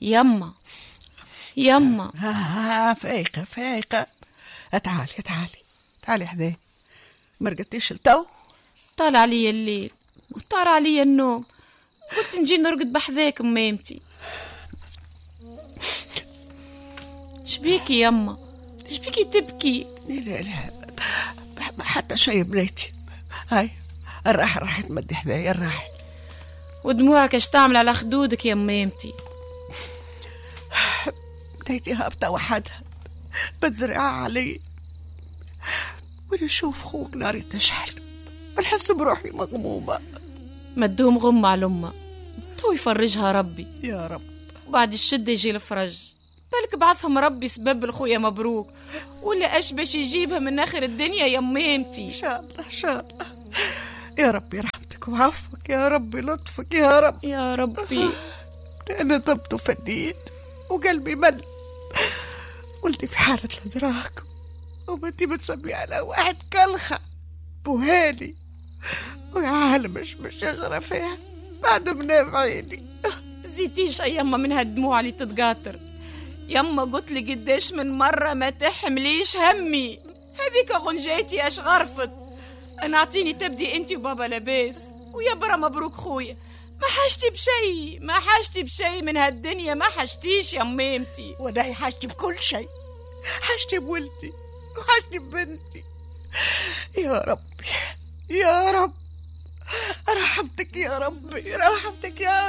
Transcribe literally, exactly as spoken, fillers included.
يما يما. آه فايقة فايقة، تعالي تعالي تعالي حذايا. ما رقدتيش لتو؟ طال عليا الليل وطار عليا النوم، قلت نجي نرقد بحذاك ميمتي. شبيكي يما؟ شبيكي تبكي؟ لا لا حتى شيء بنيتي. هاي الراحة راح تمدي حذايا الراحة. ودموعك اش تعمل على خدودك يا ميمتي؟ بنيتي هابطة وحدها بالذراع علي، وانا نشوف خوك ناري تشعل ونحس بروحي مغمومة. ما تدوم غمة على أمه، تو يفرجها ربي يا رب. وبعد الشدة يجي الفرج. بالك بعثهم ربي سبب لخويا مبروك، ولا اش باش يجيبها من اخر الدنيا يا ميمتي. ان شاء الله ان شاء الله يا ربي، رحمتك وعفوك يا ربي، لطفك يا رب يا ربي. انا طبت وفديت وقلبي مل، ولدي في حالة الادراك وبنتي بتسمي على واحد كلخة بوهالي، ويا عالم مش مش يجرى فيها بعد منام عيني. زيتيش يا يما من هالدموع اللي تتقاطر يما. قلت لي قداش من مرة ما تحمليش همي، هذيك غنجاتي اش غرفت. انا اعطيني تبدي انت وبابا لاباس ويا برا مبروك خويا. ما حاجتي بشي، ما حاجتي بشي من هالدنيا، ما حاجتيش يا ميمتي. وانا حاجتي بكل شيء، حاجتي بولدي وحاجتي ببنتي. يا ربي يا رب رحمتك يا ربي، رحمتك يا